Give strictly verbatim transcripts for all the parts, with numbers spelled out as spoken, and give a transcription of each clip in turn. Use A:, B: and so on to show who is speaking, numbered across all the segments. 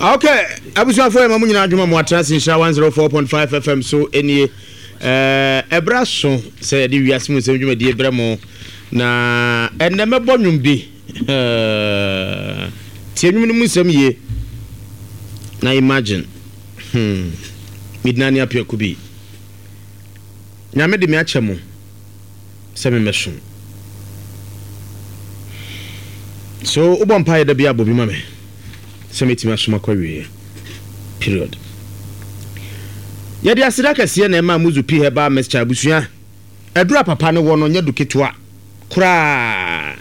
A: Okay, abusuafoɔ, yɛ ma mo nyinaa adwuma mo atena se Nhyira one oh four point five F M so. Ɛnie ɛberɛ so sɛ yɛde wiase mu nsɛm dwumadie brɛ mo, na ɛnnɛ mɛbɔ nnwom bi. Tie nnwom no mu nsɛm yie na imagine hmm. Medina ne apiako bi, Nyame de me akyɛ mo sɛ memɛsom so. Wobɔ mpaeɛ da bi abɔ bi ma me sɛ mɛtumi asom akɔ awieɛ, period. Yɛde aseda kɛseɛ na ɛma Muzu P Herbal Mixture. Abusua, aduru a papa no wɔ no nyɛ du ketewa koraa.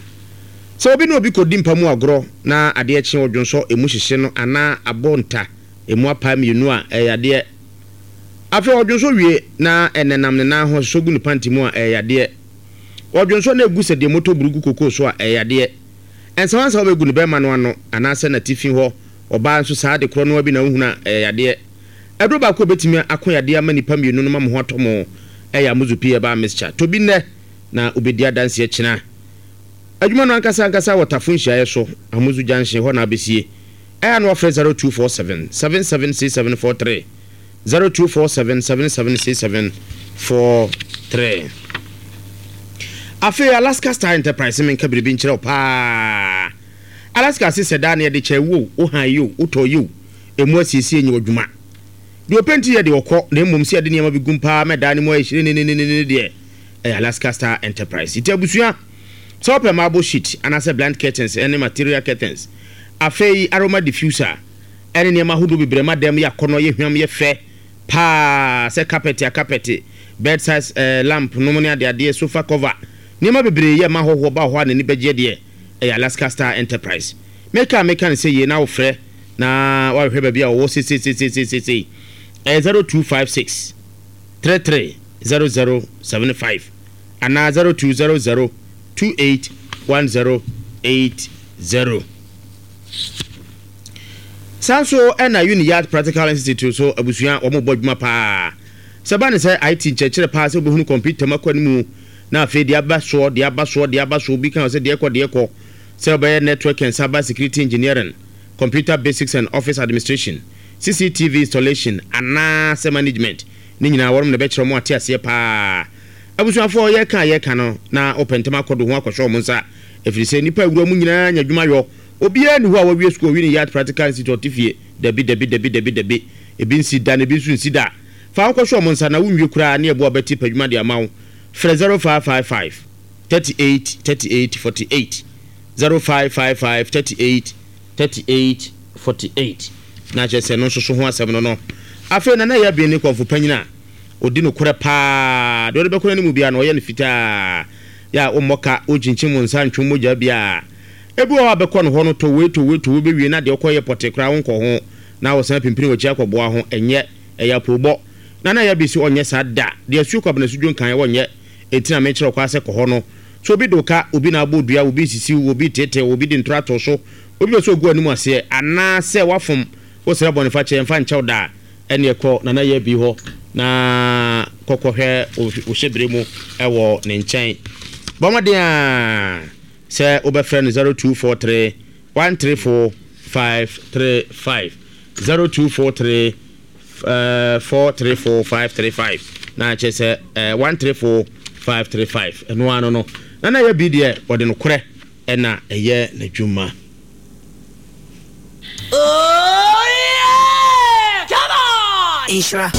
A: Sɛ obi ne obi kɔdi mpa mu agorɔ na adeɛ kye, ɔdwonsɔ emu hyehye no anaa abɔ nta emu apa mmienu a, ɛyɛ adeɛ. Afei ɔdwonsɔ wie na ɛnenam ne nan ho so gu ne panty mu a, ɛyɛ adeɛ. Ɔdwonsɔ na egu sɛ deɛ moto buru gu kokoo so a, ɛyɛ adeɛ. Nsawansawa bɛgu ne bɛrima no ano anaasɛ n'atifi hɔ, ɔbaa nso saa de korɔ no bi na wohunu a, ɛyɛ yadeɛ. Ɛduro baako a obɛtumi ako yadeɛ ama nipa mmienu no ma mo ho atɔ mo ɛyɛ Amuzu P Herbal Mixture. Tobi nnɛ na wobɛdi adanseɛ kyena. Adwuma no ankasa ankasa wɔ Tafo nhyiaeɛ so, Amuzu Junction hɔ na abɛsie. Ɛyɛ no afrɛ zero two four seven seven seven six seven four three, zero two four seven seven seven six seven four three. Afei Alaska Star Enterprise, menka biribi nkyerɛ wo paa. Alaska se sɛ daa ne yɛde kyɛ wo, wo han yi o, wotɔ yi o, ɛmu asiesie nyɛ adwuma deɛ ɔpɛnti yɛ deɛ ɔkɔ, na mmom sɛ yɛde nneɛma bi gum paa mɛdaa ne mu ayɛ hyire nenenenene deɛ, ɛyɛ Alaska Star Enterprise. Nti abusua, sɛ wopɛ marble sheet anaasɛ blind curtains ɛne material curtains, afei aroma diffuser ɛne nneɛma ahodoɔ bebree ma dɛm yɛ akɔnɔ, yɛ hwam, yɛ fɛ paa, sɛ carpet a carpet, bedside eh, lamp nom ne adeadeɛ, sofa cover, nneɛma bebree yɛ ma hɔhoɔ ba hɔ a n'ani bɛgyeɛ deɛ, ɛyɛ Alaska Star Enterprise. Meka meka ne sɛ yie na wofrɛ na wahwehwɛ baabi a wɔwɔ seseesesesesei. Ɛyɛ zero two five six three three zero zero seven five anaa zero two zero zero two eight one zero eight zero. Saa nso ɛna Uniyard Practical Institute so, abusua, wɔn bɔ adwuma paa sɛ ba ne sɛ I T nkyerɛkyerɛ paa, sɛ wobɛhunu computer mu akɔ anim na afei deɛ aba soɔ, deɛ aba soɔ, deɛ aba soɔ, obi kan sɛ deɛ kɔ, deɛ kɔ, sɛ wobɛyɛ network and cyber security engineering, computer basics and office administration, C C T V installation anaa sɛ management ne nyinaa, wɔnom na ɛbɛkyerɛ mo ate aseɛ paa. Abusuafoɔ, yɛka yɛka no na wopɛ ntɛm akɔdo ho akɔhyɛ ɔmo nsa, ɛfiri sɛ nnipa awura mu nyinaa nya adwuma yɔ. Obiara ni hɔ a wawie sukuu Uniyard Practical Institute ɔte fie. Dabi, dabi, dabi, dabi, dabi, ebi nsi da na ebi nso nsi da. Fa wokɔhyɛ ɔmo nsa na wonwie koraa ne ɛboa bɛti pa adwuma de ama wo. Frɛ zero five five five thirty-eight thirty-eight forty-eight, zero five five five thirty-eight thirty-eight forty-eight, na kyerɛ sɛ no nso so ho asɛm no no Afei Nana yɛ abien ne kɔnfo panyin a ɔdi nokorɛ paa deɛ, ɔde bɛkɔ n'anim biara na ɔyɛ no fitaa yɛ a wommɔ ka, wokyinkyim wo nsa ntwom mogya biara. Ebi wɔ hɔ a bɛkɔ no hɔ no, tɔ wei, tɔ wei, tɔ wei, bɛwie na deɛ ɔkɔ yɛ pɔte koraa wonkɔ ho na wɔsan pimpini w'akyi akɔboa ho. Ɛnyɛ ɛyɛ apoobɔ. Nana yɛ bi si ɔnyɛ saa da deɛ asuo kɔ abena sudwo nkan wɔnyɛ. Enti na mekyerɛ ɔkɔ asɛ kɔ hɔ no so, obi de ka obi na abɔ dua, obi sisi, obi tete, obi de ntora to so, obi bɛ sɛ ogu anim aseɛ anaasɛ wafom wosrɛ bɔne fa kyɛ mfa nkyɛw da, ɛne ɛkɔ Nana yɛ bi hɔ na kɔkɔhwɛ wo hyɛbere mu ɛwɔ ne nkyɛn. Bɔ mmɔden a sɛ wobɛfrɛ no zero two four three one three four five three five, zero two four three uh, four three four five three five, na kyerɛ sɛ uh, one three four five three five. Ɛno ano no, Nana yɛ bi deɛ, ɔde nokorɛ ɛna ɛyɛ n'adwuma.
B: Oh yeah! Come on!
C: Nhyira.